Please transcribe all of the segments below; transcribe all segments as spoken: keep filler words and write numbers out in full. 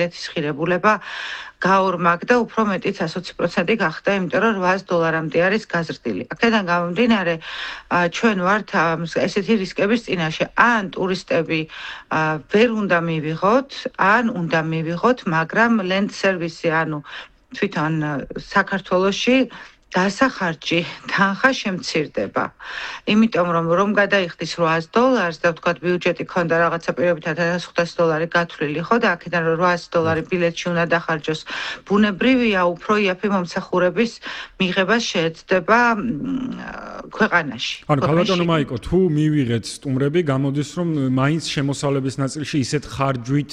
ეთის ღირებულება გაორმაგდა, უფრო მეტიც ოცი პროცენტი გახდა, იმიტომ რომ რვაას დოლარამდე არის გაზრდილი. აქედან გამომდინარე, ჩვენ ვართ ესეთი რისკების წინაშე, ან ტურისტები ვერ უნდა მივიღოთ, ან უნდა მივიღოთ, მაგრამ land service, ანუ თვითონ საქართველოში დასახარჯი თანხა შემცირდება. იმიტომ რომ რომ გადაიხდის რვაას დოლარს და ვთქვათ ბიუჯეტი ქონდა რაღაცა პირობითად ათას ხუთასი დოლარი გათვლილი ხო და აქედან რომ რვაასი დოლარი ბილეთში უნდა დახარჯოს, ბუნებრივია უფრო იაფი მომსახურების მიღება შეეცდება ქვეყანაში. ანუ ქალბატონო მაიკო, თუ მივიღეთ სტუმრები, გამოდის რომ მაინც შემოსავლების ნაწილში ისეთ ხარჯვით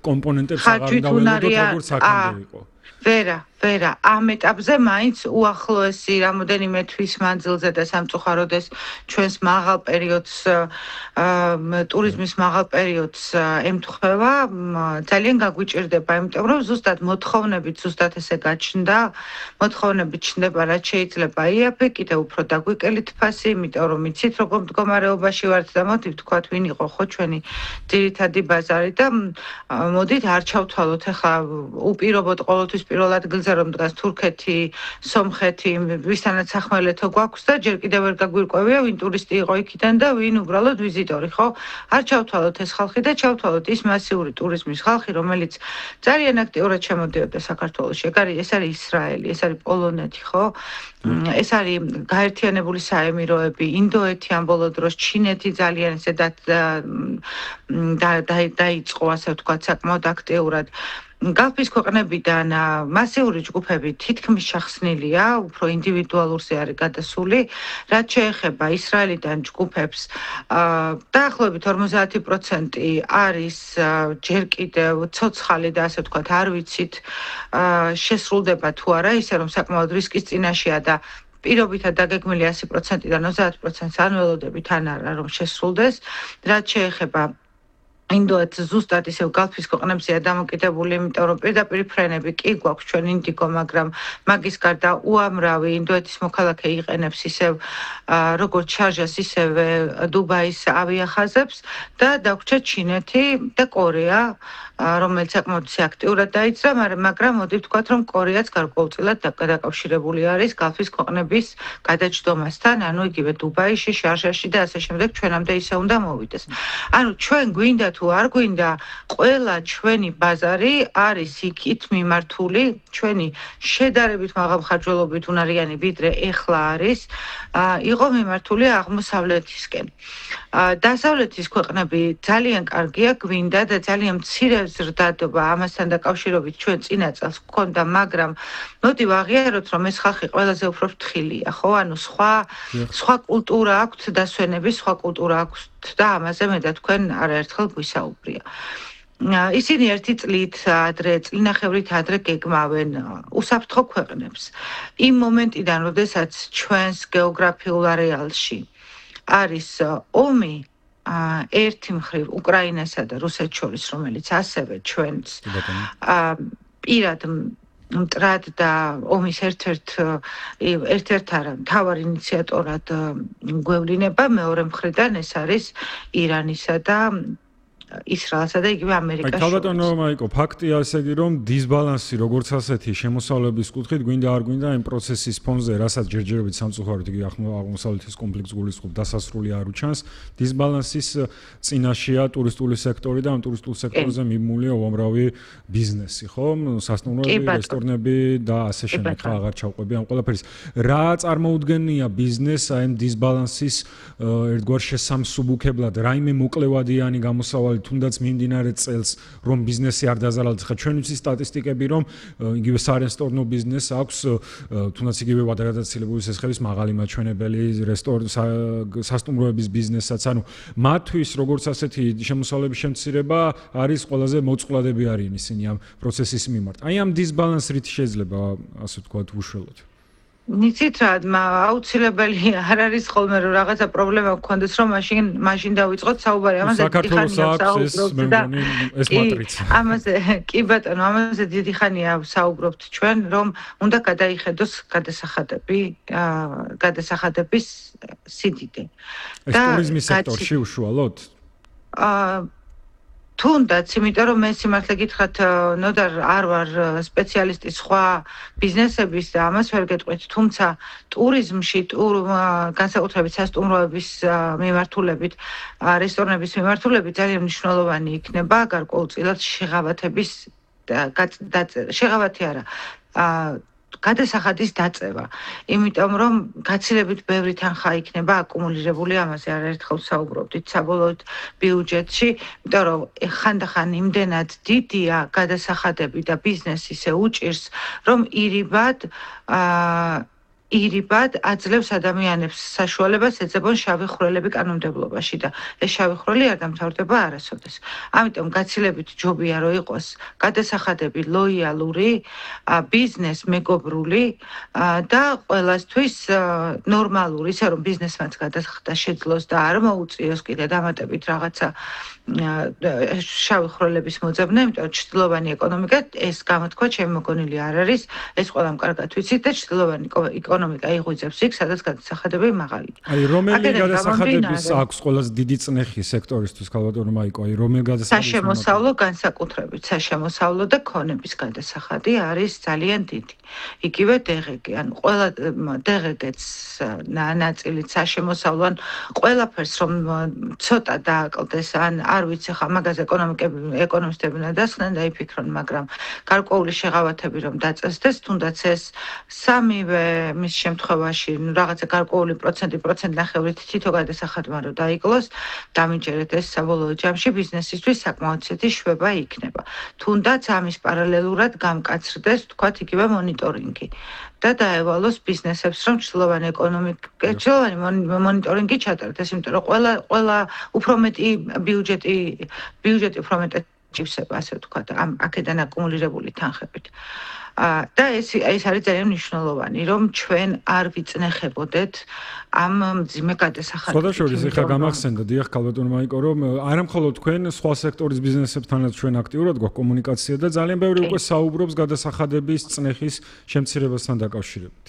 კომპონენტებს აღარ უნდა ველოდოთ, როგორც აქამდე იყო. ვერა, ვერა, ამ ეტაპზე მაინც უახლოესი რამოდენიმე თვის მანძილზე და სამწუხაროდ ეს ჩვენს მაღალ პერიოდს, ტურიზმის მაღალ პერიოდს ემთხვევა, ძალიან გაგვიჭირდება, იმიტომ რომ ზუსტად მოთხოვნებით ზუსტად ესე გაჩნდა, მოთხოვნებით ჩნდება, რაც შეიძლება იაფი, კიდევ უფრო დაგვიკელით ფასი, იმიტომ რომ იცით როგორ მდგომარეობაში ვართ და მოდით ვთქვათ, ვინ იყო ხო ჩვენი ძირითადი ბაზარი და მოდით არ ჩავთვალოთ ახლა უპირობოდ ყოველთვის პირველ ადგილზე რომ დგას თურქეთი, სომხეთი, ვისთანაც სახმელეთო გვაქვს და ჯერ კიდევ ვერ გაგვირკვევია, ვინ ტურისტი იყო იქიდან და ვინ უბრალოდ ვიზიტორი, ხო? არ ჩავთვალოთ ეს ხალხი და ჩავთვალოთ ის მასიური ტურიზმის ხალხი, რომელიც ძალიან აქტიურად შემოდიოდა საქართველოში. ეს არის ისრაელი, ეს არის პოლონეთი, ხო? ეს არის გაერთიანებული საემიროები, ინდოეთი ამ ბოლო დროს, ჩინეთი ძალიან ესე დაიწყო, ასე ვთქვათ, საკმაოდ აქტიურად. გალფის ქვეყნებიდან მასიური ჯგუფები თითქმის შახსნილია, უფრო ინდივიდუალურზე არის გადასული, რაც შეეხება ისრაელიდან ჯგუფებს, დაახლოებით ორმოცდაათი პროცენტი არის ჯერ კიდევ ცოცხალი და ასე ვთქვათ, არ ვიცით, შესრულდება თუ არა, ისე რომ საკმაოდ რისკის წინაშეა და პირობითად დაგეგმილი ასი პროცენტიდან ოცდაათ პროცენტს არ ველოდებით ან არა რომ შესრულდეს, რაც შეეხება ინდოეთს ზუსტად ისევ გალფის ქვეყნებზეა დამოკიდებული, იმიტომ რომ პირდაპირ ფრენები კი გვაქვს ჩვენ ინდიგო, მაგრამ მაგის გარდა უამრავი ინდოეთის მოქალაქე იყენებს ისევ როგორც შარჟას, ისევე დუბაის ავიახაზებს და დაგვრჩა ჩინეთი და კორეა, რომელიც საკმაოდ აქტიურად დაიძრა, მაგრამ მოდი ვთქვათ, რომ კორეაც გარკვეულწილად დაკავშირებული არის გალფის ქვეყნების გადაჯდომასთან, ანუ იგივე დუბაიში, შარჟაში და ასე შემდეგ ჩვენამდე ისე უნდა მოვიდეს. ანუ ჩვენ გვინდა თუ არ გვინდა, ყველა ჩვენი ბაზარი არის იქით მიმართული, ჩვენი შედარებით მაღალმხარჯველობით უნარიანი ვიდრე ეხლა არის, იყო მიმართული აღმოსავლეთისკენ. დასავლეთის ქვეყნები ძალიან კარგია, გვინდა და ძალიან მცირე ზრდადობა ამასთან დაკავშირებით ჩვენ წინა წელს გვქონდა, მაგრამ მოდი ვაღიაროთ, რომ ეს ხალხი ყველაზე უფრო ფრთხილია, ხო? ანუ სხვა სხვა კულტურა აქვთ დასვენების, სხვა კულტურა აქვთ და ამაზე მე და თქვენ არაერთხელ გვისაუბრია. ისინი ერთი წლით ადრე, წლინახევრით ადრე გეგმავენ უსაფრთხო ქვეყნებს. იმ მომენტიდან, როდესაც ჩვენს გეოგრაფიულ არეალში არის ომი, ერთი მხრივ უკრაინასა და რუსეთს შორის, რომელიც ასევე ჩვენს პირად მტრად და ომის ერთ-ერთ ერთ-ერთ არა მთავარ ინიციატორად გვევლინება, მეორე მხრიდან ეს არის ირანისა და ისრაელსა და იგივე ამერიკას შორის. ქალბატონო მაიკო, ფაქტია ესე იგი, რომ დისბალანსი როგორც ასეთი შემოსავლების კუთხით გვინდა არ გვინდა იმ პროცესის ფონზე, რასაც ჯერჯერობით სამწუხაროდ იგი აღმოსავლეთის კონფლიქტს გულისხმობს, დასასრული არ უჩანს. დისბალანსის წინაშეა ტურისტული სექტორი და ამ ტურისტულ სექტორზე მიმულია უამრავი ბიზნესი, ხო? სასტუმროები, რესტორნები და ასე შემდეგ. ხა აღარ ჩავყვები ამ ყველაფერის. რა წარმოუდგენია ბიზნესს აი ამ დისბალანსის ერთგვარ შესამსუბუქებლად, რაიმე მოკლევადიანი გამოსავალი თუნდაც მიმდინარე წელს რომ ბიზნესი არ დაზარალდეს. ხა ჩვენ ვიცი სტატისტიკები რომ იგივე სარესტორნო ბიზნესს აქვს თუნდაც იგივე გადაცილებული სესხების მაღალი მაჩვენებელი რესტორნ სასტუმროების ბიზნესსაც. ანუ მათთვის როგორც ასეთი შემოსავლების შემცირება არის ყველაზე მოწყვლადები არიან ისინი ამ პროცესის მიმართ. აი ამ დისბალანსს რით შეიძლება ასე ვთქვათ უშველოთ? იცით რა, აუცილებელი არ არის ხოლმე რომ რაღაცა პრობლემა გქონდეს, რომ მაშინ მაშინ დავიწყოთ საუბარი ამაზე. საქართველოს აქვს ეს მე მგონი ეს მატრიცა. ამაზე კი ბატონო, ამაზე დიდი ხანია საუბრობთ ჩვენ, რომ უნდა გადაიხედოს გადასახადები, გადასახადების სიდიდე. ეს ტურიზმის სექტორში უშუალოდ? აა თუნდაც, იმიტომ რომ მე სიმართლე გითხრათ, ნოდარ არ ვარ სპეციალისტი სხვა ბიზნესების და ამას ვერ გეტყვით, თუმცა ტურიზმში, ტურ განსაკუთრებით სასტუმროების მიმართულებით, რესტორნების მიმართულებით ძალიან მნიშვნელოვანი იქნება გარკვეულწილად შეღავათების შეღავათი არა, გადასახადის დაწევა. იმიტომ რომ გაცილებით ბევრი თანხა იქნება აკუმულირებული, ამაზე არაერთხელ საუბრობდით საბოლოოდ ბიუჯეტში, იმიტომ რომ ხანდახან იმდენად დიდია გადასახადები და ბიზნესი ისე უჭირს, რომ ირიბად აა ირიბად აძლევს ადამიანებს საშუალებას ეძებონ შავი ხვრელები კანონმდებლობაში და ეს შავი ხვრელი არ დამთავრდება არასოდეს. ამიტომ გაცილებით ჯობია რომ იყოს გადასახადები ლოიალური, ბიზნეს მეგობრული და ყველასთვის ნორმალური, ისე რომ ბიზნესმენს გადასახადა შეძლოს და არ მოუწიოს კიდე დამატებით რაღაცა შავი ხვრელების მოძებნა, იმიტომ რომ ჩრდილოვანი ეკონომიკა ეს გამოთქვა ჩემი მოგონილი არ არის, ეს ყველამ კარგად ვიცით და ჩრდილოვანი ეკონომიკა იღვიძებს იქ, სადაც გადასახადები მაღალია. აი, რომელი გადასახადების აქვს ყველაზე დიდი წნეხი სექტორისთვის, ქალბატონო მაიკო, აი, რომელი გადასახადების? საშემოსავლო განსაკუთრებით, საშემოსავლო და ქონების გადასახადი არის ძალიან დიდი. იგივე დღგ, ანუ ყველა დღგ-ც ნაწილით საშემოსავლო, ან ყველაფერს რომ ცოტა დააკლდეს, ან არ ვიცი ხა მაგაზე ეკონომისტები ნადასხდნენ და იფიქრონ, მაგრამ გარკვეული შეღავათები რომ დაწესდეს, თუნდაც ეს სამივე მის შემთხვევაში რაღაცა გარკვეული პროცენტი, პროცენტნახევრით თითო გადასახადმა რომ დაიკლოს, დამიჯერეთ ეს საბოლოო ჯამში ბიზნესისთვის საკმაოდ ცეთი შვება იქნება. თუნდაც ამის პარალელურად გამკაცრდეს, თქვათ, იგივე მონიტორინგი და დაევალოს ბიზნესებს, რომ ჩრდილოვანი ეკონომიკა, ჩრდილოვანი მონიტორინგი ჩატარდეს, იმიტომ რომ ყველა ყველა უფრო მეტი ბიუჯეტი, ბიუჯეტი უფრო მეტად ჭივსება, ასე ვთქვათ, ამ აქედან აკუმულირებული თანხებით. და ეს ეს არის ძალიან მნიშვნელოვანი, რომ ჩვენ არ ვიწნეხებოდეთ ამ მძიმე გადასახადებს. სხვადასხვა ეხლა გამახსენდა, დიახ, ქალბატონო მაიკო, რომ არა მხოლოდ თქვენ სხვა სექტორის ბიზნესებთანაც ჩვენ აქტიურად გვაქვს კომუნიკაცია და ძალიან ბევრი უკვე საუბრობს გადასახადების წნეხის შემცირებასთან დაკავშირებით.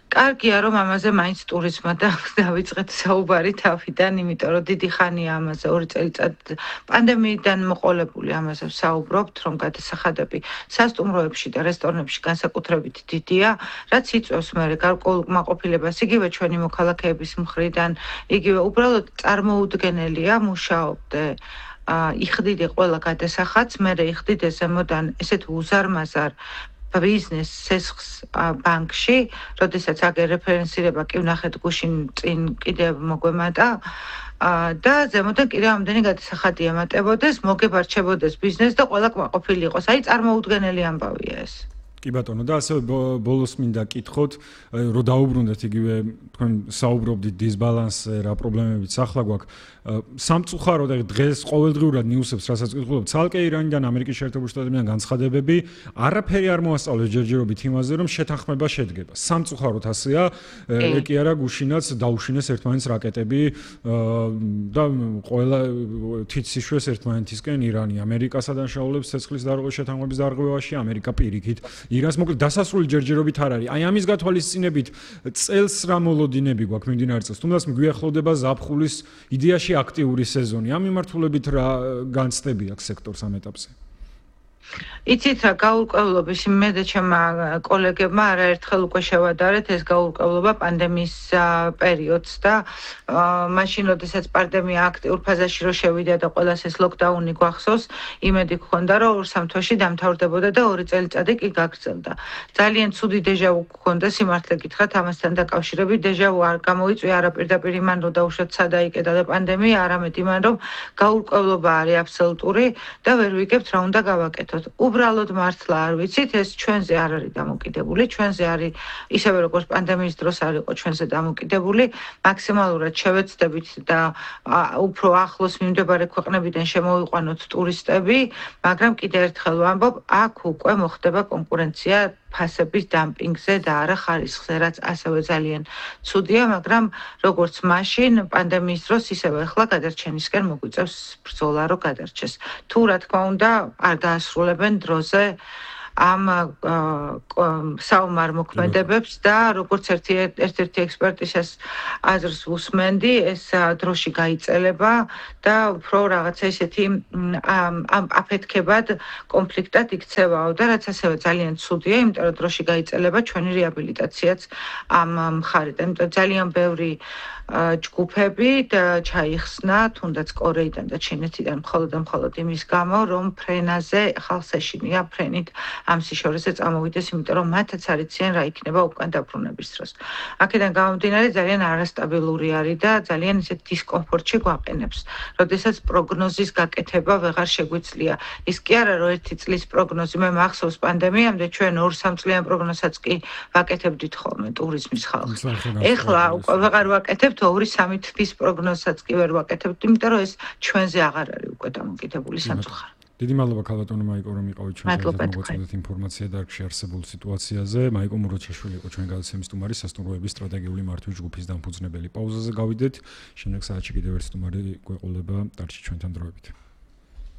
კარგია რომ ამაზე მაინც ტურიზმმა დავიწყეთ საუბარი თავიდან, იმიტომ რომ დიდი ხანია ამაზე ორი წელიწად პანდემიიდან მოყოლებული ამაზე ვსაუბრობთ, რომ გადასახადები სასტუმროებში და რესტორნებში განსაკუთრებით დიდია, რაც იწვევს მე გარკვეულ კმაყოფილებას იგივე ჩვენი მოქალაქეების მხრიდან, იგივე უბრალოდ წარმოუდგენელია მუშაობდე იხდიდე ყველა გადასახადს, მე იხდიდე ზემოდან ესეთ უზარმაზარ ბიზნეს სესხს ბანკში, როდესაც აგერ რეფერენსირება კი ვნახეთ გუშინ წინ კიდევ მოგვემატა და ზემოდან კიდევ ამდენი გადასახადი ემატებოდეს, მოგებარჩებოდეს ბიზნეს და ყველა კმაყოფილი იყოს. აი, წარმოუდგენელი ამბავია ეს. კი ბატონო, და ასევე ბოლოს მინდა კითხოთ, რომ დაუბრუნდეთ იგივე თქვენ საუბრობდით დისბალანსზე, რა პრობლემებიც ახლა გვაქვს. სამწუხაროდ დღეს ყოველდღიურად ნიუსებს რასაც ვკითხულობთ, ცალკე ირანიდან, ამერიკის შეერთებული შტატებიდან განცხადებები, არაფერი არ მოასწავლეს ჯერჯერობით იმაზე, რომ შეთანხმება შედგება. სამწუხაროდ ასეა, ეკი არა გუშინაც დაუშინეს ერთმანეთს რაკეტები და ყველა თვითსიშვეს ერთმანეთისკენ ირანი ამერიკასა დაშაულებს ცეცხლის დარღვევის შეთანხმების დარღვევაში, ამერიკა პირიქით ირანს, მოკლედ დასასრული ჯერჯერობით არ არის. აი ამის გათვალისწინებით წელს რა მოლოდინები გვაქვს მიმდინარე წელს, თუნდაც გვიახლოვდება ზაფხულის იდეაში აქტიური სეზონი. ამ მიმართულებით რა განცდები აქვს სექტორს ამ ეტაპზე? იცით რა, გაურკვევლობის მე და ჩემმა კოლეგებმა არაერთხელ უკვე შევადარეთ ეს გაურკვევლობა პანდემიის პერიოდს და მაშინ, როდესაც პანდემია აქტიურ ფაზაში რო შევიდა და ყველას ეს ლოკდაუნი გვახსოვს, იმედი გქონდა, რომ ორ-სამ თვეში დამთავრდებოდა და ორი წელიწადი კი გაგრძელდა. ძალიან ცუდი დეჟავუ გქონდა, სიმართლე გითხრათ, ამასთან დაკავშირებით დეჟავუ არ გამოიწვია არა პირდაპირ იმან, რომ დაუშვათ სადაიკეტა და პანდემია, არამედ იმან, რომ გაურკვევლობა არის აბსოლუტური და ვერ ვიგებთ რა უნდა გავაკეთოთ. უბრალოდ მართლა არ ვიცით, ეს ჩვენზე არ არის დამოკიდებული, ჩვენზე არის ისევე როგორც პანდემიის დროს არ იყო ჩვენზე დამოკიდებული, მაქსიმალურად შევეცდებით და უფრო ახლოს მიმდებარე ქვეყნებიდან შემოვიყვანოთ ტურისტები, მაგრამ კიდევ ერთხელ ვამბობ, აქ უკვე მოხდება კონკურენცია ფასების დამპინგზე და არა ხარისხზე, რაც ასევე ძალიან ცუდია, მაგრამ როგორც მაშინ პანდემიის დროს, ისევე ახლა გადარჩენისკენ მოგვიწევს ბრძოლა, რომ გადარჩეს. თუ რა თქმა უნდა, არ დაასრულებენ დროზე ამ საომარ მოქმედებებს და როგორც ერთი ერთ-ერთი ექსპერტისას აზრს უსმენდი, ეს დროში გაიწელება და უფრო რაღაცა ისეთი აფეთქებად კონფლიქტად იქცევაო და რაც ასევე ძალიან ცუდია, იმიტომ რომ დროში გაიწელება ჩვენი რეაბილიტაციაც ამ მხარიდან. იმიტომ ძალიან ბევრი ჯგუფები ჩაიხსნა, თუნდაც კორეიდან და ჩინეთიდან მხოლოდ და მხოლოდ იმის გამო, რომ ფრენაზე ხალხს ეშინია ფრენით ამ სიშორეზე წამოვიდეს, იმიტომ რომ მათაც არ იციან რა იქნება უკან დაბრუნების დროს. აქედან გამომდინარე ძალიან არასტაბილური არის და ძალიან ისეთ დისკომფორტში გვაყენებს, როდესაც პროგნოზის გაკეთება ვეღარ შეგვიძლია. ის კი არა, რომ ერთი წლის პროგნოზი, მე მახსოვს პანდემიამდე ჩვენ ორ სამ წლიან პროგნოზსაც კი ვაკეთებდით ხოლმე ტურიზმის ხალხი. ეხლა უკვე ვეღარ ვაკეთებთ ორი სამი თვის პროგნოზსაც კი ვერ ვაკეთებთ, იმიტომ რომ ეს ჩვენზე აღარ არის უკვე დამოკიდებული სამწუხაროდ. დიდი მადლობა ქალბატონო მაიკო, რომ იყავით ჩვენთან და მოგაწოდეთ ინფორმაცია დარგში არსებულ სიტუაციაზე. მაიკო მუროჩაშვილი იყო ჩვენ გადაცემის სტუმარი, სასტუმროების სტრატეგიული მართვის ჯგუფის დამფუძნებელი. პაუზაზე გავიდეთ, შემდეგ საათში კიდევ ერთ სტუმარი გვეყოლება, დარჩით ჩვენთან დროებით.